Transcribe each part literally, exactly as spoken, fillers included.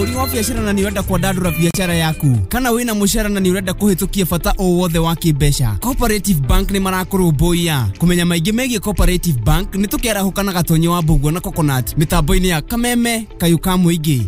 Mũhũri wa biacara na nĩ ũrenda kwandandũra biacara yaku, kana wĩna mũcara na nĩ ũrenda kũhĩtũkia bata o wothe wa kĩmbeca, Cooperative Bank nĩ marakũrũmbũiya. Kũmenya maingĩ megiĩ Cooperative Bank nĩ tũkĩarahũka na Gatonyo wa Mbũguo na Coconut mĩtambo-inĩ ya Kameme Kayũ ka Mũingĩ.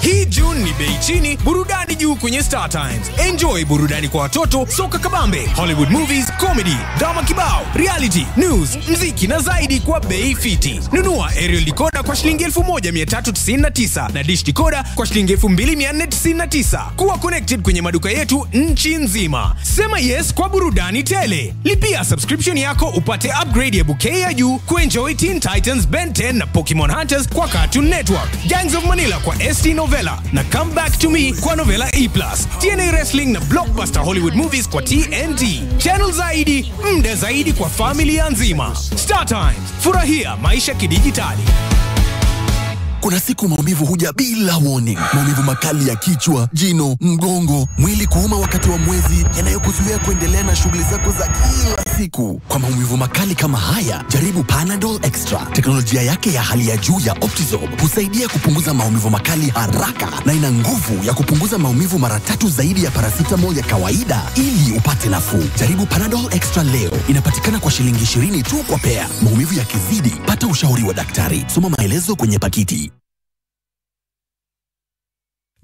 Hii June ni bei chini, burudani juu kwenye Star Times. Enjoy burudani kwa watoto, soka kabambe, Hollywood movies, comedy, drama kibao, reality, news, mziki na zaidi kwa bei fiti. Nunua aerial decoder kwa shilingi elfu moja mia tatu tisini na tisa na dish decoder kwa shilingi elfu mbili mia nne tisini na tisa. Kuwa connected kwenye maduka yetu nchi nzima. Sema yes kwa burudani tele. Lipia subscription yako upate upgrade ya bouquet ya juu kuenjoy Teen Titans, Ben ten na Pokemon Hunters kwa Cartoon Network, Gangs of Manila kwa S T Novella na Come Back to Me kwa Novella E plus, T N A Wrestling na Blockbuster Hollywood Movies kwa T N T. Channel zaidi, mda zaidi kwa familia nzima. Star Times, furahia maisha kidijitali. Kuna siku maumivu huja bila warning. Maumivu makali ya kichwa, jino, mgongo, mwili kuuma wakati wa mwezi, yanayokuzuia kuendelea na shughuli zako za kila siku. Kwa maumivu makali kama haya, jaribu Panadol Extra. Teknolojia yake ya hali ya juu ya Optizorb husaidia kupunguza maumivu makali haraka na ina nguvu ya kupunguza maumivu mara tatu zaidi ya paracetamol ya kawaida ili upate nafuu. Jaribu Panadol Extra leo. Inapatikana kwa shilingi ishirini tu kwa pea. Maumivu yakizidi, pata ushauri wa daktari. Soma maelezo kwenye pakiti.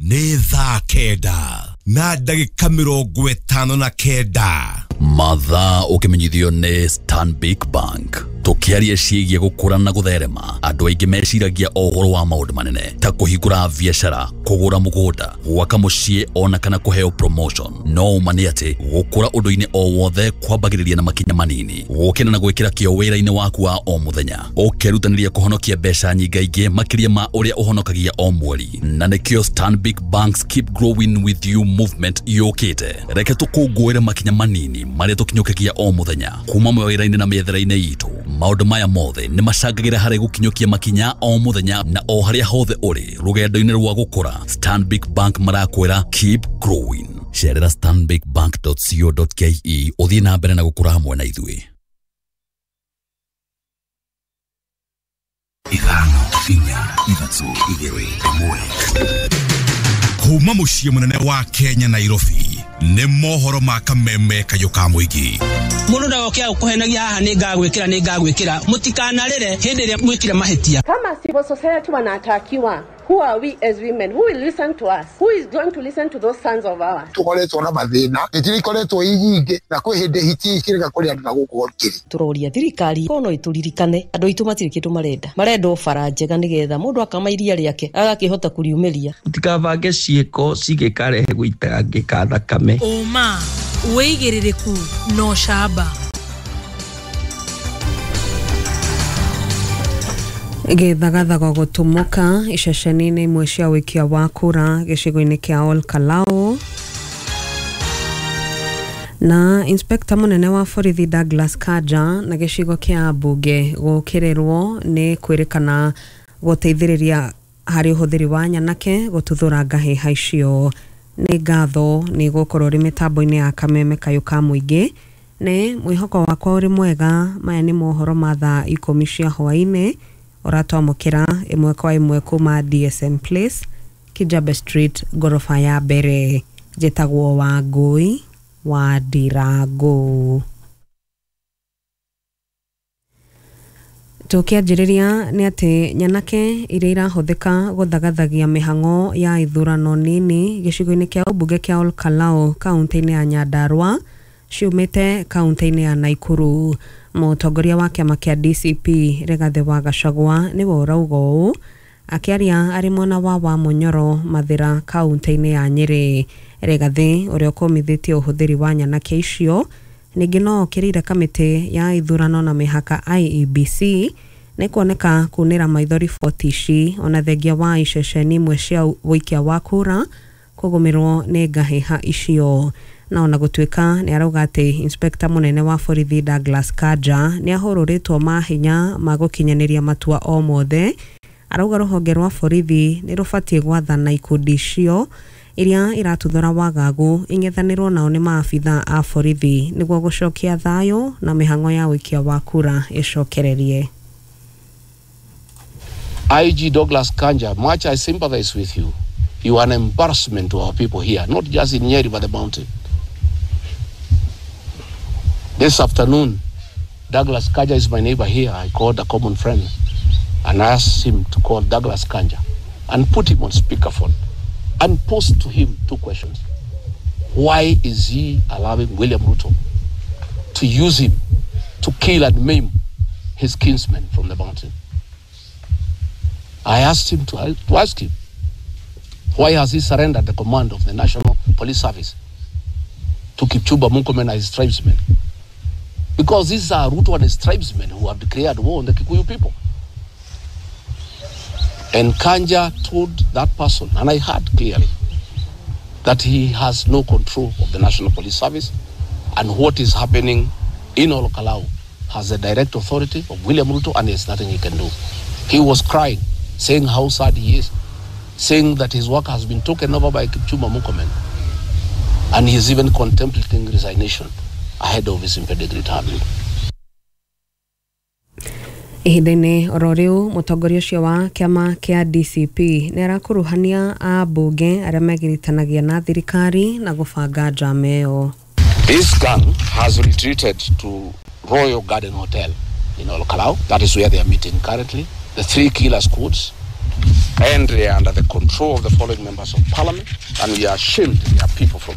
Nĩ thaa kenda na ndagĩka mĩrongo ĩtano na kenda. Mathaa ũkĩmenyithio nĩ Stanbic Bank. Tũkĩaria ciĩgiĩ gũkũra na gũtherema, andũ aingĩ meciragia o ũhoro wa maũndũ manene ta kũhingũra biacara, kũgũra mũgũnda, gwaka mũciĩ ona kana kũheo promotion. No ũma nĩ atĩ gũkũra ũndũ-inĩ o wothe kwambagĩrĩria na makinya manini, gũkĩra na gwĩkĩra kĩo wĩra-inĩ waku wa o mũthenya, ũkerutanĩria kũhonokia mbeca nyingaingĩ makĩria ma ũrĩa ũhonokagia o mweri. Na nĩkĩo Stanbic Bank's Keep Growing With You movement yũkĩte. Reke tũkũngũĩre makinya manini marĩa tũkinyũkagia o mũthenya kuma mawĩra-inĩ na mĩethere-inĩ itũ. Maũndũ maya mothe nĩ macangagĩra harĩ gũkinyũkia makinya o mũthenya na o harĩa hothe ũrĩ rũgendo-inĩ rwa gũkũra. Stanbic Bank marakwĩra keep growing. Cerera stanbic bank dot co dot ke ũthiĩ na mbere na gũkũra hamwe na ithuĩ. Ithano, inya, ithatũ, igĩrĩ, ĩmwe. Kuma mũciĩ mũnene wa Kenya Nairobi nĩ mohoro ma Kameme Kayũ ka Mũingĩ. Mũndũ ndagoke gũkũhenagia haha nĩ ngagwĩkĩra nĩ ngagwĩkĩra, mũtikanarĩre hĩndĩ ĩrĩa mwĩkire mahĩtia. Kama civil society wanatakiwa, who are we as women? Who will listen to us? Who is going to listen to those sons of ours? Tukoretwo na mathĩna, ĩtirikoretwo ĩ nyingĩ na kwĩ hĩndĩ hiti ikĩrega kũrĩa andũ na gũkũ gũkĩrĩ. Tũroria thirikari kono ĩtũririkane, andũ aitũ matirĩ kĩndũ marenda, marenda o bara njega nĩgetha mũndũ akama iria rĩake agakĩhota kũriumĩria. Mũtikabange ciĩko cingĩkarehe gũitangĩka thakame. Ũma, wĩigĩrĩrĩku na ũcamba. Gĩthagathago gũtumũka iceceni-inĩ imwe cia ũikia wa kura gĩcigo-inĩ kĩa Ol Kalou. Na Inspector mũnene wa borithi Douglas Kanja na gĩcigo kĩa mbunge gũkĩrĩrwo nĩ kwĩrĩkana gũteithĩrĩria harĩ ũhũthĩri wa nyanake gũtuthũra ngahĩha icio. Nĩ ngatho nĩ gũkorwo ũrĩ mĩtambo-inĩ ya Kameme Kayũ ka Mũingĩ. Nĩ mwĩhoko wakwa ũrĩ mwega. Maya nĩ mohoro ma thaa ikũmi cia hwaĩ-inĩ ũratwamũkĩra ĩmwe kwa ĩmwe kuma D S M Place, Kijabe Street, ngoroba ya mbere. Njĩtagwo Wangũi wa Ndirango. Tũkĩanjĩrĩria nĩ atĩ nyanake iria irahũthĩka gũthagathagia mĩhang'o ya ithurano nini gĩcigo-inĩ kĩa ũmbunge kĩa Ol Kalou kaunti-inĩ ya Nyandarua ciumĩte kaunti-inĩ ya Naikuru. Mũtongoria wa kĩama kĩa D C P Rigathĩ wa Gachagua nĩwe ũrauga ũũ akĩaria arĩ mwena wa Wamunyoro Mathĩra kaunti-inĩ ya Nyĩrĩ. Rigathĩ ũrĩa ũkũmithĩtie ũhũthĩri wa nyanake icio ningĩ no okĩrĩire kamĩtĩ ya ithurano na mĩhaka I E B C nĩ kuoneka kunĩra maitho riboti ici ona thengia wa iceceni imwe cia ũikia wa kura kũgũmĩrwo nĩ ngahĩha icio. Na ona gũtuĩka nĩ arauga atĩ Inspector mũnene wa borithi Douglas Kanja nĩ ahũrũrĩtwo mahinya ma gũkinyanĩria matua o mothe, arauga rũhonge rwa borithi nĩ rũbatiĩ gwathana ikundi icio iria iratuthũra wagagu ing'ethanĩrwo nao nĩ maabitha a borithi nĩguo gũcokia thayũ na mĩhang'o ya ũikia wa kura ĩcokererie. I G Douglas Kanja, much I sympathize with you, You are an embarrassment to our people here, not just in Nyeri, but the mountain. This afternoon, Douglas Kanja is my neighbor here. I called a common friend and asked him to call Douglas Kanja and put him on speakerphone and post to him two questions. Why is he allowing William Ruto to use him to kill and maim his kinsmen from the mountain? I asked him to, to ask him, why has he surrendered the command of the National Police Service to Kipchumba Murkomen and his tribesmen? Because these are Ruto and his tribesmen who have declared war on the Kikuyu people. And Kanja told that person, and I heard clearly, that he has no control of the National Police Service, and what is happening in Olkalou has the direct authority of William Ruto, and there's nothing he can do. He was crying, saying how sad he is, saying that his work has been taken over by Kipchumba Murkomen, and he is even contemplating resignation ahead of his impending retirement. Ihinda-inĩ oro rĩu mũtongoria ũcio wa kĩama kĩa D C P nĩ arakuruhania ambunge arĩa megiritanagia na thirikari na gũbanga njama ĩyo. This gang has retreated to Royal Garden Hotel in Olkalou. That is where they are meeting currently. The three killer squads, and they are under the control of the following members of parliament, and we are ashamed they are people from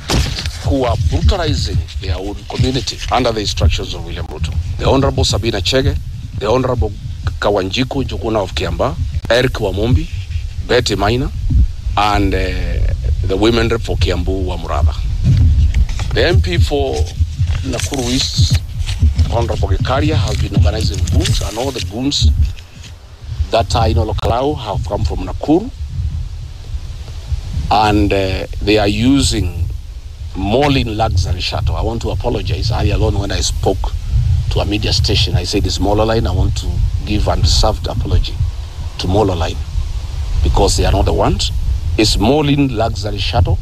who are brutalizing their own community under the instructions of William Ruto. The Honorable Sabina Chege, the Honorable Kawanjiku Njuguna of Kiambaa, Eric Wamumbi, Betty Maina, and uh, the women rep for Kiambu Wamuraba. The M P for Nakuru East, Honorable Gikaria, has been organizing goons, and all the goons that are in Olkalou have come from Nakuru, and uh, they are using Molin Luxury Shuttle. I want to apologize. I alone, when I spoke to a media station, I said it's Mololine. I want to give unreserved apology to Mololine because they are not the ones. It's Molin Luxury Shuttle.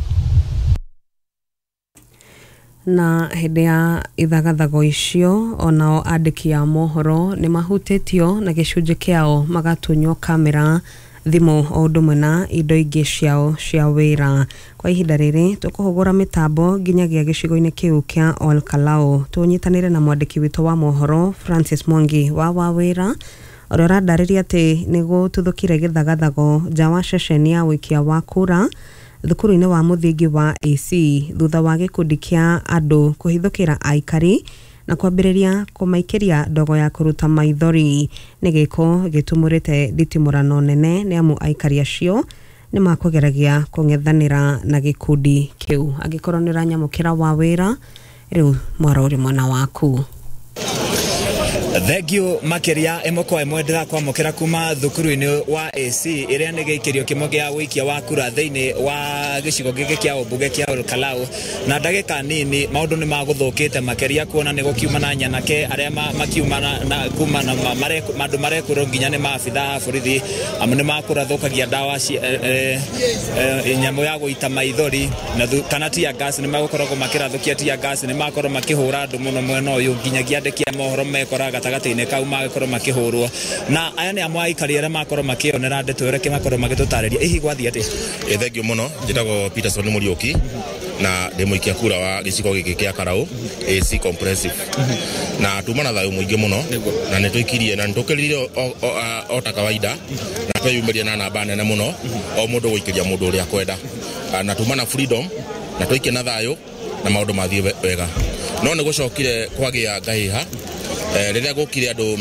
Na hĩndĩ ya ithagathago icio onao andĩki a mohoro nĩ mahutĩtio na gĩcunjĩ kĩao magatunywo kamera, thimũ o ũndũ ũmwe na indo ingĩ ciao cia wĩra. Kwa ihinda rĩrĩ tũkũhũgũra mĩtambo nginyagia gĩcigo-inĩ kĩu kĩa Olkalou tũnyitanĩre na mwandĩki witũ wa mohoro Francis Mwangi wa Wawĩra ũrĩa ũradarĩria atĩ nĩ gũtuthũkire gĩthagathago nja wa ceceni ya ũikia wa kura thukuru-inĩ wa mũthingi wa A C thutha wa gĩkundi kĩa andũ kũhithũkĩra aikari na kwambĩrĩria kũmaikĩria ndogo ya kũruta maithori. Nĩ gĩko gĩtumũrĩte nditimũrano nene nĩ amu aikari acio nĩ makũgeragia kũng'ethanĩra na gĩkundi kĩu. Angĩkorwo nĩ ũranyamũkĩra Wawĩra, rĩu mwaro ũrĩ mwena waku. Thank you makiria ĩmwe kwa ĩmwe ndĩrakwamũkĩra kuma thukuru-inĩ wa A C ĩrĩa nĩ gĩikĩrio kĩmwe gĩa ũikia wa kura thĩinĩ wa gĩcigo gĩkĩ kĩa ũmbunge kĩa Olkalou. Na ndagĩka nini maũndũ nĩ magũthũkĩte makĩria kuona nĩ gũkiuma na nyanake arĩa makiuma na kuma na andũ marekwĩrwo nginya nĩ maabitha a borithi amu nĩ makũrathũkagia ndawa nyamũ ya gũita maithori na kana tear gas. Nĩ magũkoragwo makĩrathũkia tear gas, nĩ makorwo makĩhũra andũ mũno mwena ũyũ nginyagia andĩki a mohoro mekora gatagatĩ-inĩ kau magĩkorwo makĩhũrwo. Na aya nĩ amwe a aikari arĩa makorwo makĩonera ndeto ĩrĩa kĩmakorwo magĩtũtarĩria. Hihi gwathiĩ atĩa? Ĩ thengiũ mũno, njĩtagwo Peterson Mũriũki na ndĩ mũikia kura wa gĩcigo gĩkĩ kĩa Karau A C Comprehensive, na tuma na thayũ mũingĩ mũno na nĩ tũikirie na nĩ tũkĩrire o ta kawaida na tweyumĩria na namba nene mũno, o mũndũ gũikĩria mũndũ ũrĩa akwenda, na tuma na freedom na tũikie na thayũ na maũndũ mathiĩ wega. No nĩ gũcokire kwagĩa ngahĩha rĩrĩa gũkire andũ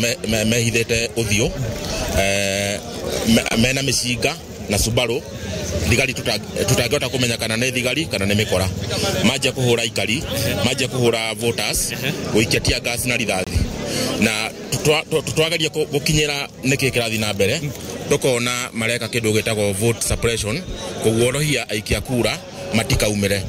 mehithĩte ũthiũ mena mĩcinga na Subaru, thigari tutangĩhota kũmenya kana nĩ thigari kana nĩ mĩkora, manjia kũhũra aikari, manjia kũhũra voters, gũikia tear gas na rithathi, na twageria gũkinyĩra nĩkĩ kĩrathiĩ na mbere tũkona mareka kĩndũ gĩtagwo vote suppression, kũguorohia aikia kura matikaumĩre.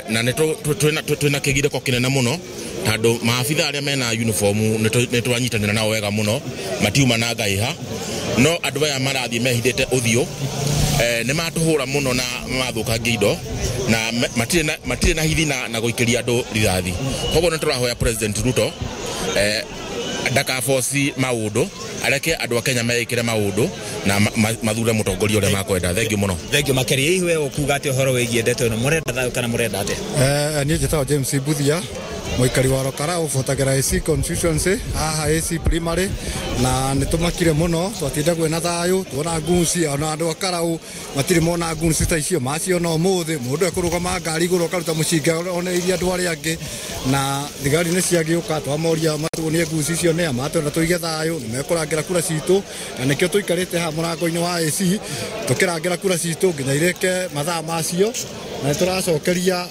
Na nĩ twĩna kĩgirĩko kĩnene mũno tondũ maabitha arĩa mena uniform nĩ twanyitanĩra nao wega mũno, matiuma na ngaiha, no andũ aya marathiĩ mehithĩte ũthiũ nĩ matũhũra mũno na mathũkangia indo na matirĩ na matirĩ na hithi na gũikĩria andũ rithathi. Koguo nĩ tũrahoya President Ruto ndakaboci maũndũ Areke andũ a Kenya meĩkĩre maũndũ na mathure mũtongoria ũrĩa makwenda. Thengiũ mũno. Thengiũ makĩria. Hihi we ũkuga atĩa ũhoro wĩgiĩ ndeto ĩno, mũrenda thayũ kana mũrenda atĩa? Eh, niĩ njĩtagwo James Mbuthia, mũikari wa Olkalou, botagĩra A C constituency haha A C primary, na nĩ tũmakire mũno, twatinda kwĩna thayũ, tuona ngunci, ona andũ a Karau matirĩ mona ngunci ta icio, maciona ũmũthĩ, mũndũ ekũrũgama ngari igũrũ akaruta mũcinga oneirie andũ arĩa angĩ, na thigari nĩ ciagĩũka twamoria matuonie ngunci icio nĩa, matwenda tũige thayũ, nĩ mekũrangĩra kura citũ, na nĩkĩo tũikarĩte haha mũrango-inĩ wa A C tũkĩrangĩra kura citũ nginya irĩke mathaa macio, na nĩ tũracokeria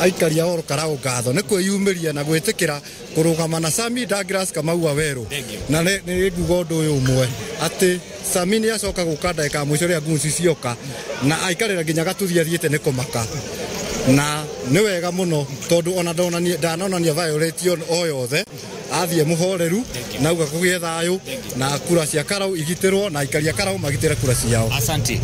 aikari a Olkalou ngatho nĩ kwĩyumĩria na gwĩtĩkĩra kũrũgama na Sami Douglas Kamau Waweru. Na nĩ nguga ũndũ ũyũ ũmwe atĩ Sami nĩ acoka gũka ndagĩka ya mũico rĩrĩa ngunci cioka, na aikarĩra nginya gatuthi athiĩte nĩ kũmaka, na nĩ wega mũno tondũ ona ndanonania violate o yothe, athiĩ mũhoreru na auga kũgĩe thayũ na kura cia Karau igitĩrwo na aikari a Karau magitĩre kura ciao. Asante.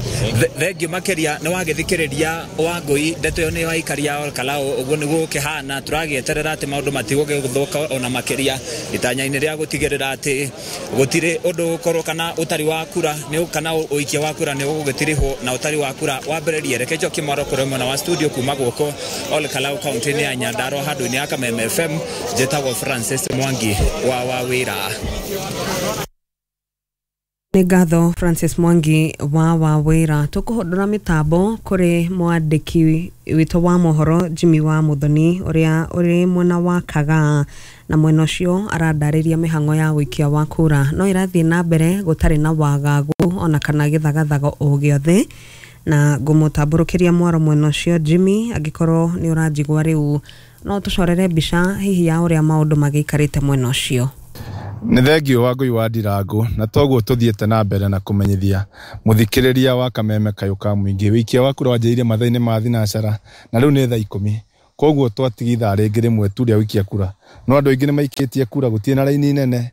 Thengiũ makĩria. Nĩ wagĩthikĩrĩria Wangũi, ndeto ĩyo nĩ ya aikari a Olkalou, ũguo nĩguo gũkĩhana. Tũragĩeterera atĩ maũndũ matigũgĩthũka ona makĩria itanya-inĩ rĩa gũtigĩrĩra atĩ gũtirĩ ũndũ ũkorwo kana ũtari wa kura nĩ kana ũikia wa kura nĩ ũgũgĩtirihwo na ũtari wa kura wambĩrĩrie. Reke njokie mwaro kũrĩ mwena wa studio kuma gũkũ Olkalou kaunti-inĩ ya Nyandarua handũ-inĩ ya Kameme F M. Njĩtagwo Francis Mwangi wa Wawira. Nĩ ngatho Francis Mwangi wa Wawira. Tũkũhondora mĩtambo kũrĩ mwandĩki witũ wa mohoro Jimmy wa Muthoni ũrĩa ũrĩ mwena wa Kagaa, na mwena ũcio arandarĩria mĩhang'o ya ũikia wa kura no ĩrathiĩ na mbere gũtarĩ na wagagu ona kana gĩthagathago o gĩothe, na ngũmũtambũrũkĩria mwaro mwena ũcio Jimmy, angĩkorwo nĩ ũranjigua rĩu no tũcorere mbica hihi ya ũrĩa maũndũ magĩikarĩte mwena ũcio. Nĩ thengio Wangũi wa Ndirango, na toguo tũthiĩte na mbere na kũmenyithia mũthikĩrĩria wa Kameme Kayũ ka Mũingĩ. Wĩikia wa kura wanjĩrĩirie mathaa-inĩ ma thinacara na rĩu nĩ thaa ikũmi, koguo twatigia ithaa rĩngĩ rĩmwe tu rĩa gũikia kura, no andũ aingĩ nĩ maikĩtie kura, gũtirĩ na raini nene.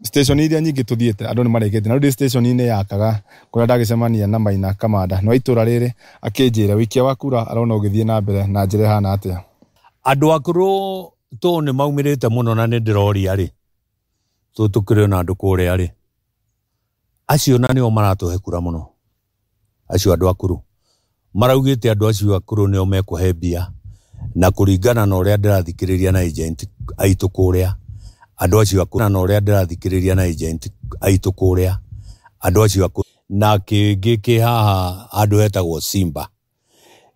Station iria nyingĩ tũthiĩte andũ nĩ marĩkĩtie, na rĩu ndĩ station-inĩ ya Kagaa kũrĩa ndagĩcemania na Maina Kamanda no itũra rĩrĩ akĩnjĩra wĩikia wa kura arona ũgĩthiĩ na mbere na njĩra ĩhana atĩa. Andũ akũrũ tũ nĩ maumĩrĩte mũno na nĩ ndĩroria rĩ tũ tũkĩrĩ na andũ kũrĩa rĩ acio na nĩo maratũhe kura mũno, acio andũ akũrũ maraugĩte andũ acio akũrũ nĩo mekũhe mbia, na kũringana na ũrĩa ndĩrathikĩrĩria na agent aitũ kũrĩa andũ acio akũrũ na ũrĩa ndĩrathikĩrĩria na agent aitũ kũrĩa andũ acio akũrũ na kĩngĩ kĩ haha handũ hetagwo Simba,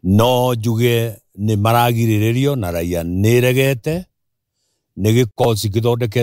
no njuge nĩ maragirĩrĩrio na raia nĩ ĩregete nĩ gĩkosi gĩthondeketwo.